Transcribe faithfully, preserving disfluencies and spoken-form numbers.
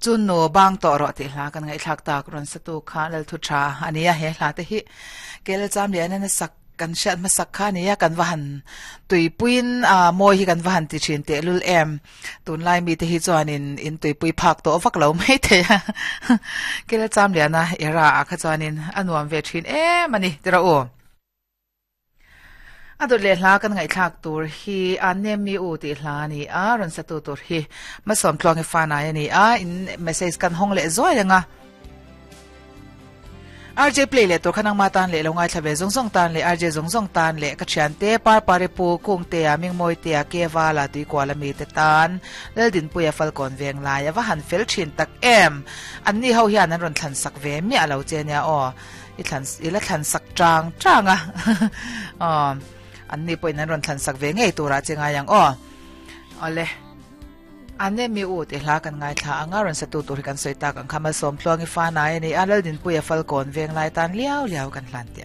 Chun no bang to ro ti hla kan ngai thlak tak ron sa tu kha lal thu tha ania he hla te hi kel cham le na sak kan hriat hmasak kha ania kan va han tuipuiin a mawi hi kan va han ti thin te lul em tunlai mi te hi chuanin in tuipui phak tawh vak lo mai thei a kel cham liana era a kha chuanin a nuam ve thin em ani tira u a dawt leh hla kan ngaihthlak tur hi a nem mi u tih hla ani a rawn sa tu tur hi masawm tluang i fan ai ani a in message kan hawng leh zuai anga R J play le tur khanang ma tan le lo ngai thlave zong zong tan le R J zong zong tan le ka thian te par pare pu kung te a ming moi te a ke wala tui kwala mi te tan lel din puya falcon veng lai awa han fel thin tak em an ni ho hian an ron thlan sak ve mi alo che nia o i thlan i la thlan sak chang chang a um an ni point an ron thlan sak ve ngei tura chenga yang o ole ane mi u te hla kan ngai thla anga ron sa tu tur kan soi tak ang khama som tluang i fa nai ani alal din puya falcon veng lai tan liao liao kan hlan te